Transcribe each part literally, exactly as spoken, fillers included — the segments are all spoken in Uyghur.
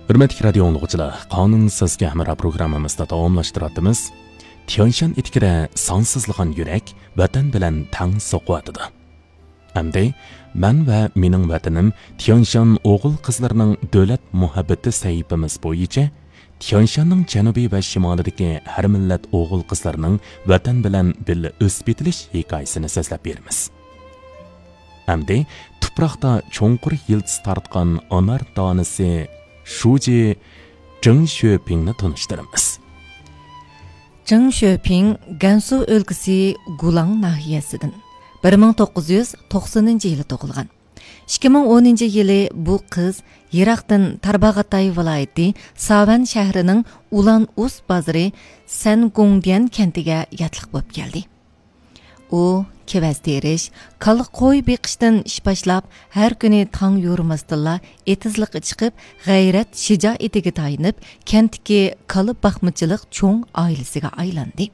ھۆرمەتلىك رادىيو ئاڭلىغۇچىلار، قانۇن سىزگە ھەمراھ پروگراممىمىزنى داۋاملاشتۇراتىمىز. تيەنشان ئېتىكىدە سانسىزلىغان يۈرەك ۋەتەن بىلەن تەڭ سوقۇۋاتىدۇ. ئەمدى مەن ۋە مېنىڭ ۋەتىنىم تيەنشان ئوغۇل-قىزلىرىنىڭ دۆلەت مۇھەببىتى سەھىپىمىز بويىچە تيەنشاننىڭ جەنۇبى ۋە شىمالىدىكى ھەر مىللەت ئوغۇل-قىزلىرىنىڭ ۋەتەن بىلەن بىللە ئۆسۈپ يېتىلىش ھېكايىسىنى سۆزلەپ بېرىمىز. ئەمدى تۇپراقتا چوڭقۇر يىلتىز تارتقان ئانار دانىسى شۇجى جېڭ شۆپىڭنى تونۇشتۇرىمىز. جېڭ شۆپىڭ گەنسۇ ئۆلكىسى گۇلاڭ ناھىيەسىدىن، بىر مىڭ توققۇز يۈز توقسىنىنچى يىلى تۇغۇلغان. ئىككى مىڭ ئونىنچى يىلى بۇ قىز يىراقتىن تارباغاتاي ۋىلايىتى ساۋەن شەھىرىنىڭ ئۇلان ئۇس بازىرى سەنگوڭديەن كەنتىگە ياتلىق بولۇپ كەلدى. ئۇ كېۋەز تېرىش، كالا قوي بېقىشتىن ئىش باشلاپ، ھەر كۈنى تاڭ يورۇماستىنلا ئېتىزلىققا چىقىپ، غەيرەت شىجائىتىگە تايىنىپ، كەنتتىكى كالا باقمىچىلىق چوڭ ئائىلىسىگە ئايلاندى.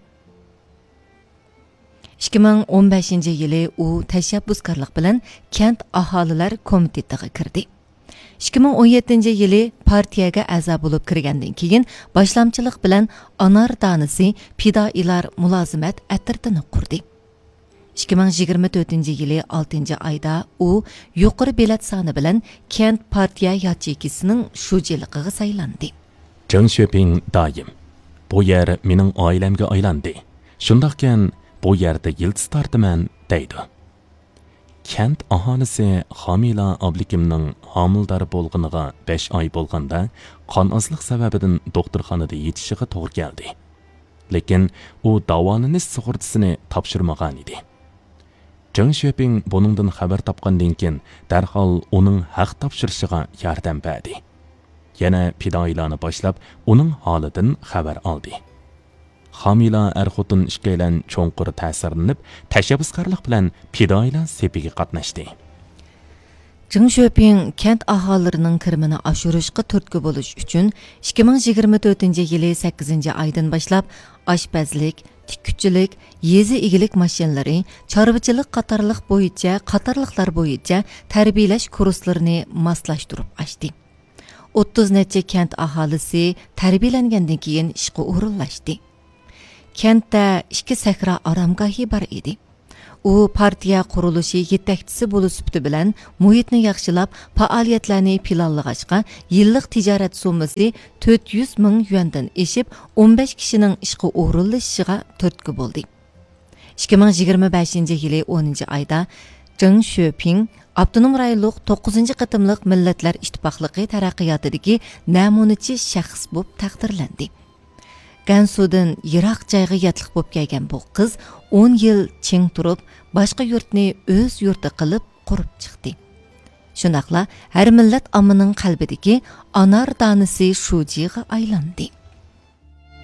ئىككى مىڭ ئون بەشىنچى يىلى ئۇ تەشەببۇسكارلىق بىلەن كەنت ئاھالىلەر كومىتېتىغا كىردى. ئىككى مىڭ ئون يەتتىنچى يىلى پارتىيەگە ئەزا بولۇپ كىرگەندىن كېيىن، باشلامچىلىق بىلەن ئانار دانىسى پىدائىيلار مۇلازىمەت ئەترىتىنى قۇردى. ئىككى مىڭ يىگىرمە تۆتىنچى يىلى ئالتىنچى ئايدا ئۇ يۇقىرى بېلەت سانى بىلەن كەنت پارتىيە ياچېيكىسىنىڭ شۇجىلىقىغا سايلاندى. جېڭ شۆپىڭ دائىم، «بۇ يەر مېنىڭ ئائىلەمگە ئايلاندى. شۇنداقكەن، بۇ يەردە يىلتىز تارتىمەن» دەيدۇ. كەنت ئاھالىسى خامىلا ئابلىكىمنىڭ ھامىلىدار بولغىنىغا بەش ئاي بولغاندا، قان ئازلىق سەۋەبىدىن دوختۇرخانىدا يېتىشىغا توغرا كەلدى. لېكىن ئۇ داۋالىنىش سۇغۇرتىسىنى تاپشۇرمىغانىدى. جېڭ شۆپىڭ بۇنىڭدىن خەۋەر تاپقاندىن كېيىن، دەرھال ئۇنىڭ ھەق تاپشۇرۇشىغا ياردەم بەردى. يەنە پىدائىيلارنى باشلاپ، ئۇنىڭ ھالىدىن خەۋەر ئالدى. خامىلا ئەر-خوتۇن ئىككىيلەن چوڭقۇر تەسىرلىنىپ، تەشەببۇسكارلىق بىلەن پىدائىيلار سېپىگە قاتناشتى. جېڭ شۆپىڭ كەنت ئاھالىلىرىنىڭ كىرىمىنى ئاشۇرۇشقا تۈرتكە بولۇش ئۈچۈن، ئىككى مىڭ يىگىرمە تۆتىنچى يىلى سەككىزىنچى ئايدىن باشلاپ، ئاشپەزلىك، تىككۈچىلىك، يېزا ئىگىلىك ماشىنىلىرى، چارۋىچىلىق قاتارلىق بويىچە، قاتارلىقلار بويىچە تەربىيەلەش كۇرسلىرىنى ماسلاشتۇرۇپ ئاچتى. ئوتتۇز نەچچە كەنت ئاھالىسى تەربىيەلەنگەندىن كېيىن ئىشقا ئورۇنلاشتى. كەنتتە ئىككى سەھرا ئارامگاھى بار ئىدى. ئۇ پارتىيە قۇرۇلۇشى يېتەكچىسى بولۇش سۈپىتى بىلەن مۇھىتنى ياخشىلاپ، پائالىيەتلەرنى پىلانلىغاچقا، يىللىق تىجارەت سوممىسى تۆت يۈز مىڭ يۈەندىن ئېشىپ، ئون بەش كىشىنىڭ ئىشقا ئورۇنلىشىشىغا تۈرتكە بولدى. ئىككى مىڭ يىگىرمە بەشىنچى يىلى ئونىنچى ئايدا جېڭ شۆپىڭ ئاپتونوم رايونلۇق توققۇزىنچى قېتىملىق مىللەتلەر ئىتتىپاقلىقى تەرەققىياتىدىكى نەمۇنىچى شەخس بولۇپ تەقدىرلەندى. گەنسۇدىن يىراق جايغا ياتلىق بولۇپ كەلگەن بۇ قىز ئون يىل چىڭ تۇرۇپ، باشقا يۇرتنى ئۆز يۇرتى قىلىپ قۇرۇپ چىقتى. شۇنداقلا ھەر مىللەت ئاممىنىڭ قەلبىدىكى ئانار دانىسى شۇجىغا ئايلاندى.